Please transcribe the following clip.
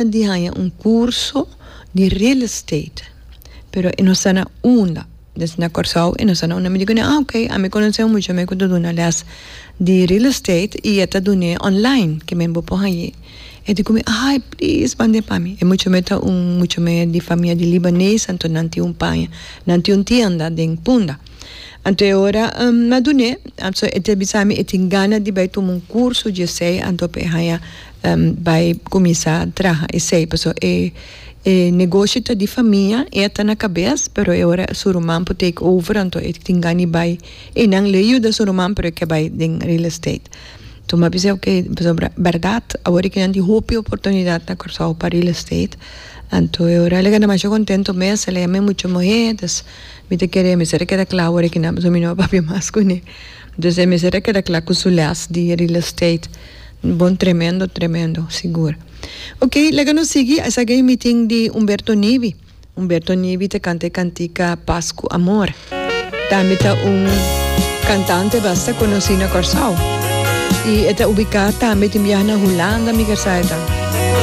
Di haña un curso di real estate pero e no sa na unda des na Kòrsou e no sa na unda mi di kuné ah ok ami konosé un mucha mi ku ta duna lès di real estate i e ta dun'é online ke men bo por hañ'é e di ku mi ay please mand'é pa mi e mucha mi ta un mucha mi di famia di libanes anto nan tin un paña nan tin un tienda den Punda anto e ora mi a dun'é anto e ta bisa mi e tin gana di bai tuma un curso di esei anto pa e haña Bai kuminsá traha esei pasobra e e negoshi ta di famia, e ta na kabes pero e ora su ruman por take over anto e tin gana di bai einan lo e yuda su ruman pero e ke bai den real estate. Anto mi a bisa oke pasobra bèrdat awor aki nan tin hopi oportunidat na Kòrsou pa real estate anto e ora el a keda masha kontento mes el a yama e mucha muhé dus mi ta kere mester a keda kla awor aki nan pasobra mi no a papia mas kuné dus e mester a keda kla ku su lès di real estate. Bon tremendo tremendo sigur. Ok laga nos sigui esaki e meeting di Humberto Nivi. Humberto Nivi ta canta e cantica Pas cu Amor. Tambe ta un cantante basta conoci na Corsou. Y e ta ubica tambe tin biaha na Hulanda mi ker sa e ta.